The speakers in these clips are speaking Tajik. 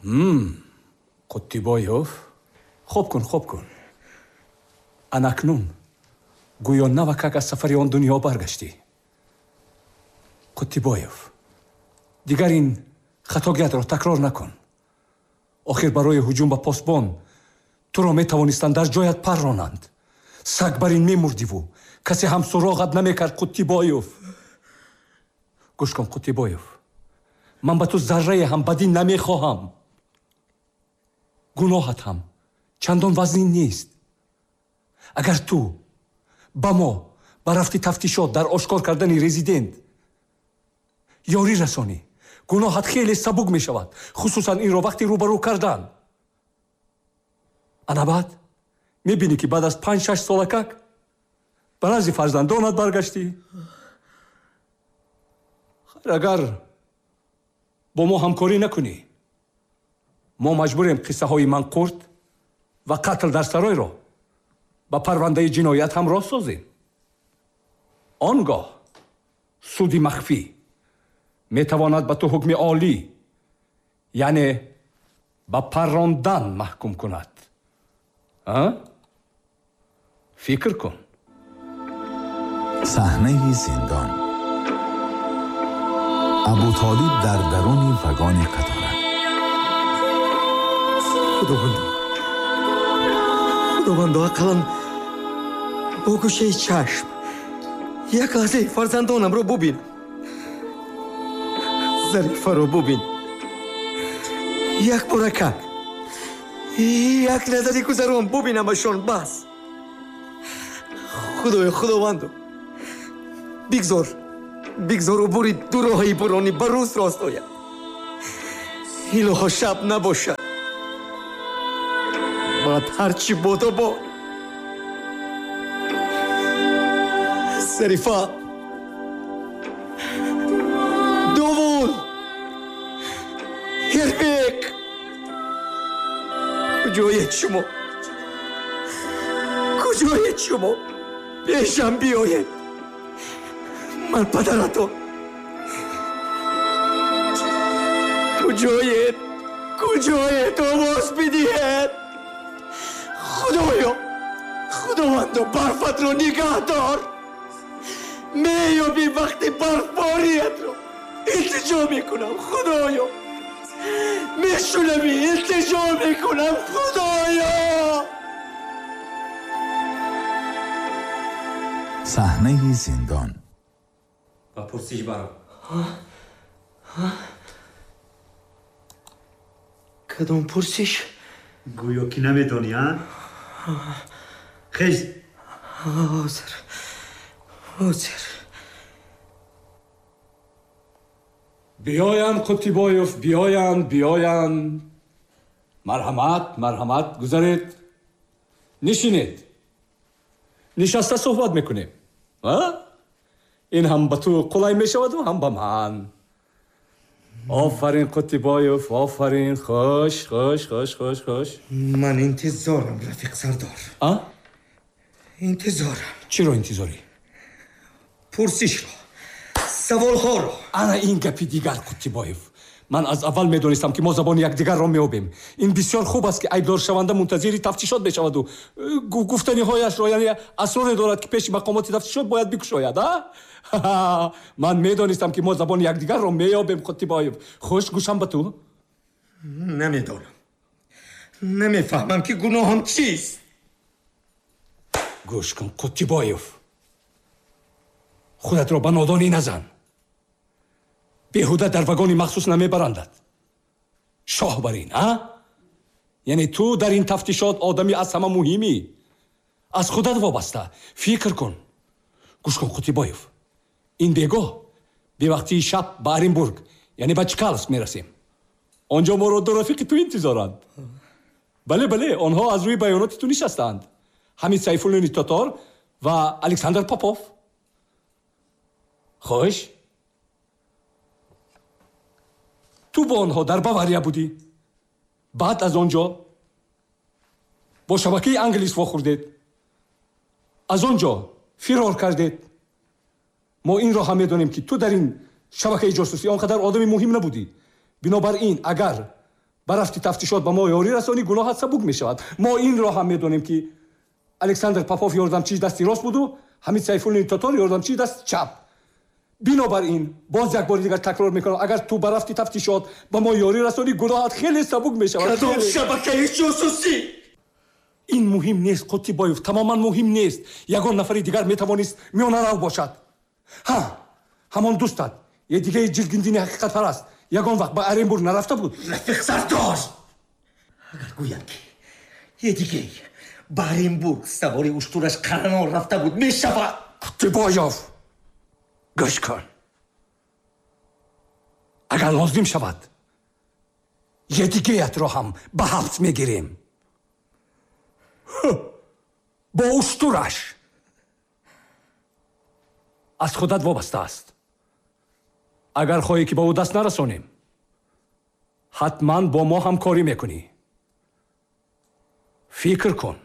Қуттибоев, хоб кун, хоб кун. Анакнун гӯё навакак аз сафари он дунё баргаштӣ. Қуттибоев, дигар ин хатогиятро такрор накун. Охир барои ҳуҷум ба посбон туро метавонистанд дар ҷоят парронанд. Саг бар ин мемурдиву касе ҳам суроғат намекард. Қуттибоев, гӯш кун, Қуттибоев, ман ба ту заррае ҳам бадӣ намехоҳам. Гуноҳат ҳам чандон вазнин нест. Агар ту ба мо ба рафти тафтишот дар ошкор кардани резидент ёрӣ расонӣ, гуноҳат хеле сабук мешавад, хусусан инро вақти рӯбарӯ кардан. Ана баъд мебинӣ, ки баъд аз 5-6 солакак ба назди фарзандонат баргаштӣ. Хайр, агар бо мо ҳамкорӣ накунӣ, мо маҷбурем қиссаҳои манқурт ва қатл дар саройро ба парвандаи ҷиноят ҳамроҳ созем. Он гоҳ суди махфӣ метавонад ба ту ҳукми олӣ, яъне ба паррондан маҳкум кунад. Фикр кун. Саҳнаи зиндон. Абутолиб дар даруни вагони қатора. Худовандо, худовандо, ақаллан бо гӯшаи чашм як лаҳзаи фарзандонамро бубин. Зарифаро бубин. Як боракак, як назари гузарон бубинамашон, бас. Худоё, худовандо, бигзор, бигзор убури дуроҳаи буронӣ ба рӯз рост ояд. Илоҳо, шаб набошад. Баъд ҳарчи бодо бод. Зарифа, Довуд, Ҳирбек, куҷоед шумо? Куҷоед шумо? Пешам биёед. Ман падаратон. Куҷоед? Куҷоед? Овоз бидиҳед. Худоё, худовандо, барфатро нигаҳ дор. Меёбӣ вақти барфбориятро. Илтиҷо мекунам, худоё. Мешунавӣ? Илтиҷо мекунам, худоё. Саҳнаи зиндон. Ба пурсиш баро. Кадом пурсиш? Гӯё ки намедонӣ, а? Хез. Ҳозир, ҳозир. Биёянд, Қуттибоев, биёянд, биёянд. Марҳамат, марҳамат, гузаред. Нишинед. Нишаста суҳбат мекунем. Ин ҳам ба ту қулай мешаваду ҳам ба ман. Офарин, Қуттибоев, офарин. Хуш, хуш, хуш, хуш, хуш. Ман интизорам, рафиқ сардор. Интизорам. Чиро интизорӣ? Пурсишро, саволҳоро. Ана ин гапи дигар, Қуттибоев. Ман аз аввал медонистам, ки мо забони якдигарро меёбем. Ин бисёр хуб аст, ки айбдоршаванда мунтазири тафтишот мешаваду гуфтаниҳояшро, яъне асроре дорад, ки пеши мақомоти тафтишот бояд бикушояд. Ман медонистам, ки мо забони якдигарро меёбем, Қуттибоев. Хуш, гӯшам ба ту. Намедонам, намефаҳмам, ки гуноҳам чист. Гӯш кун, Қуттибоев, худатро ба нодонӣ назан. Беҳуда дар вагони махсус намебарандад. Шоҳ бар ин, а? Яъне ту дар ин тафтишот одами аз ҳама муҳимӣ. Аз худат вобаста. Фикр кун. Гӯш кун, Қуттибоев, ин бегоҳ бевақтии шаб ба Оренбург, яъне ба Чкаловск мерасем. Он ҷо моро ду рафиқи ту интизоранд. Бале, бале, онҳо аз рӯи баёноти ту нишастаанд. Ҳамид Сайфуллини Тотор ва Александр Попов. Хуш, ту бо онҳо дар Бавария будӣ. Баъд аз он ҷо бо шабакаи англис вохӯрдед, аз он ҷо фирор кардед. Мо инро ҳам медонем, ки ту дар ин шабакаи ҷосусӣ он қадар одами муҳим набудӣ. Бинобар ин, агар Ба рафти тафтишот ба мо ёрӣ расонӣ, гуноҳат сабук мешавад. Мо инро ҳам медонем, ки Александр Попов ёрдамчии дасти рост буду Ҳамид Сайфуллини тотор ёрдамчии дасти чап. Бинобар ин боз як бори дигар такрор мекунам, агар ту ба рафти тафтишот ба мо ёрӣ расонӣ, гуноҳат хеле сабук мешавад. Кадом шабакаи ҷосусӣ? Ин муҳим нест, Қуттибоев, тамоман муҳим нест. Ягон нафари дигар метавонист миёнарав бошад. Ҳа, ҳамон дӯстат Едигаи ҷилгиндини ҳақиқатпараст ягон вақт ба Оренбург нарафта буд? Рафиқ Сардор, агар гӯянд, ки Едигей ба Оренбург савори уштураш Қаранор рафта буд, мешавад? Қуттибоев, гӯш кун, агар лозим шавад, Едигеятро ҳам ба ҳабс мегирем бо уштураш. Аз худат вобаста аст. Агар хоҳӣ, ки ба ӯ даст нарасонем, ҳатман бо мо ҳамкорӣ мекунӣ. Фикр кун,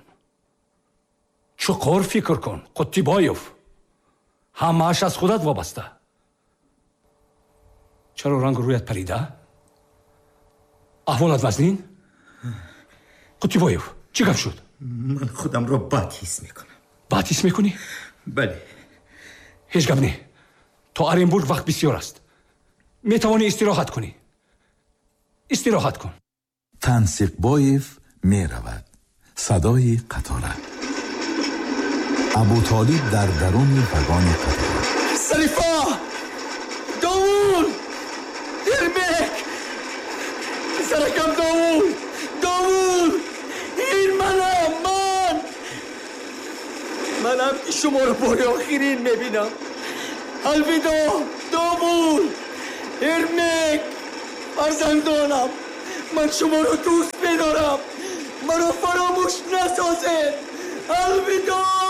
чуқур фикр кун, Қуттибоев, ҳамааш аз худат вобаста. Чаро рангу рӯят парида? Аҳволат вазнин, Қуттибоев? Чӣ гап шуд? Ман худамро бад ҳис мекунам. Бад ҳис мекунӣ? Бале. Ҳеҷ гап не, то Оренбург вақт бисёр аст, метавонӣ истироҳат кунӣ. Истироҳат кун. Тансиқбоев меравад. Садои қатора. Абутолиб дар даруни вагони қатора. Зарифа, Довуд, Ермек, писаракам Довуд, Довуд, ин манам, ман манам, ки шуморо бори охирин мебинам. Алвидоъ, Довуд, Ермек, фарзандонам, ман шуморо дӯст медорам, маро фаромӯш насозед. Алвидоъ.